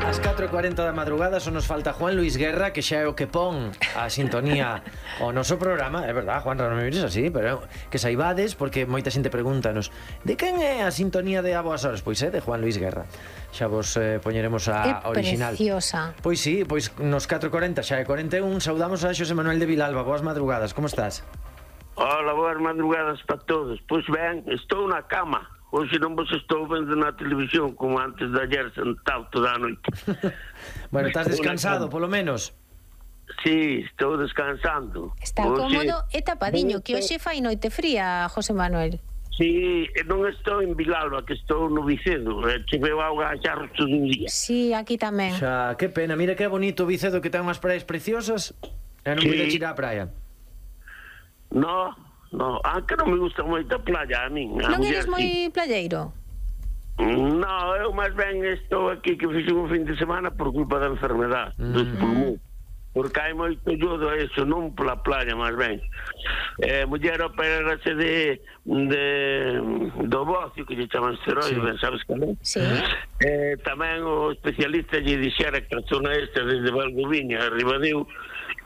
Ás 4:40 da madrugada só nos falta Juan Luis Guerra, que xa é o que pon a sintonía ao noso programa. É verdad, Juan, non me mires así, pero que saibades, porque moita xente pregúntanos de quen é a sintonía de A Boas Horas? Pois é de Juan Luis Guerra. Xa vos poñeremos a original. É preciosa. Pois sí, pois nos 4:40 xa é 41. Saudamos a Xosé Manuel de Vilalba. Boas madrugadas, como estás? Hola, boas madrugadas para todos. Pois ben, estou na cama. Hoxe non vos estou vendo na televisión como antes de ayer sentado toda a noite. Bueno, estás descansado, polo menos? Sí, estou descansando. Está cómodo e tapadiño, que hoxe fai noite fría, José Manuel. Sí, non estou en Vilalba, que estou no Vicedo. Cheveu auga a charros todo un día. Sí, aquí tamén. Xa, que pena, mira que bonito o Vicedo, que ten unhas praias preciosas. E non pude ir á praia. No, aunque non me gusta moito a playa a min. Non eres moi playeiro? No, eu máis ben estou aquí que fixe un fin de semana por culpa da enfermedade dos pulmóns. Porque hai moito yodo a eso, non pola playa máis ben. Muller operarase do bocio, que lle chaman esteroide, sí. Ben sabes que non? Sí. Tamén o especialista lle dixera que a zona esta desde Valdoviña a Ribadeo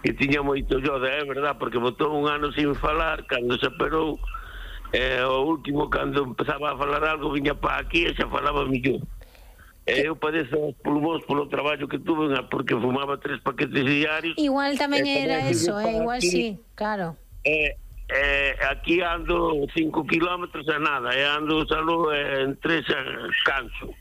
que tiña moito yodo, é verdad, porque botou un ano sin falar, cando se operou, o último, cando empezaba a falar algo, viña para aquí e xa falaba millón. Eu padezo os pulmóns polo traballo que tuve, porque fumaba 3 paquetes diarios. Igual tamén era eso, igual sí, claro. Aquí ando 5 kilómetros a nada, ando solo en 3 canso.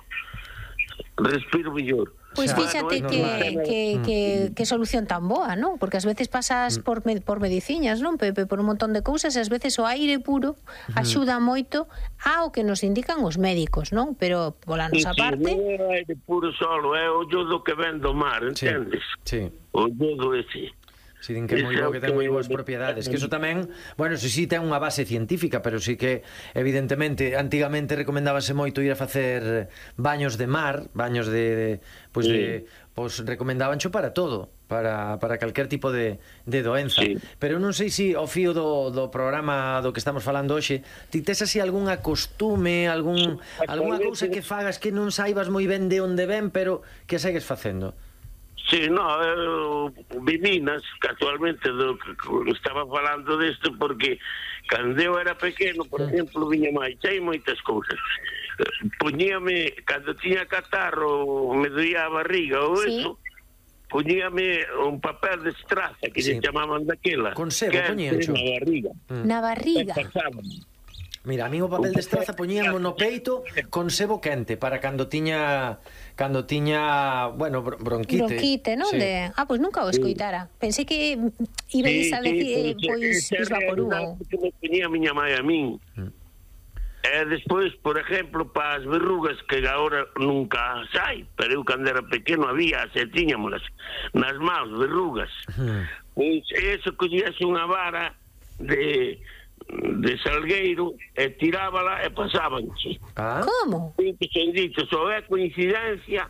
Respiro mellor. Pois fíxate que solución tan boa, non? Porque ás veces pasas por mediciñas, non, Pepe, por un montón de cousas, e ás veces o aire puro axuda moito ao que nos indican os médicos, non? Pero pola nosa parte... Non é o aire puro solo, é o yodo que ven do mar, entendes? Sí. O yodo ese. Si din que é moi bo, que ten moi boas propiedades. Que iso tamén, bueno, si ten unha base científica, pero si que, evidentemente, antigamente recomendábase moito ir a facer baños de mar, baños pois recomendabancho para todo, para calquer tipo de doenza. Sí. Pero non sei se ao fío do programa do que estamos falando hoxe, ti tes así algunha costume, algunha cousa que fagas que non saibas moi ben de onde ven, pero que segues facendo? Sí, eu viminas, casualmente, estaba falando desto porque cando eu era pequeno, por exemplo, viña máis, hai moitas cousas. Poñíame, cando tiña catarro, me doía a barriga ou eso, poñíame un papel de estraza que se chamaban daquela. Con sebo poñíancho. Na barriga. Na barriga. Mira, a mí o papel de estraza poñíamos no peito con sebo quente para cando tiña, bueno, bronquite. Bronquite, non? Sí. Pois nunca o escoitara. Pensei que ibais a decir, pois, Vaporú. Que me poñía a miña mãe a min. Despois, por exemplo, para as verrugas, que agora nunca sai, pero eu cando era pequeno había, se tiñamolas nas mãos, verrugas. Pois eso, collíase unha vara de salgueiro e tirábala e pasábanche. Como? Que son dicho, só é coincidencia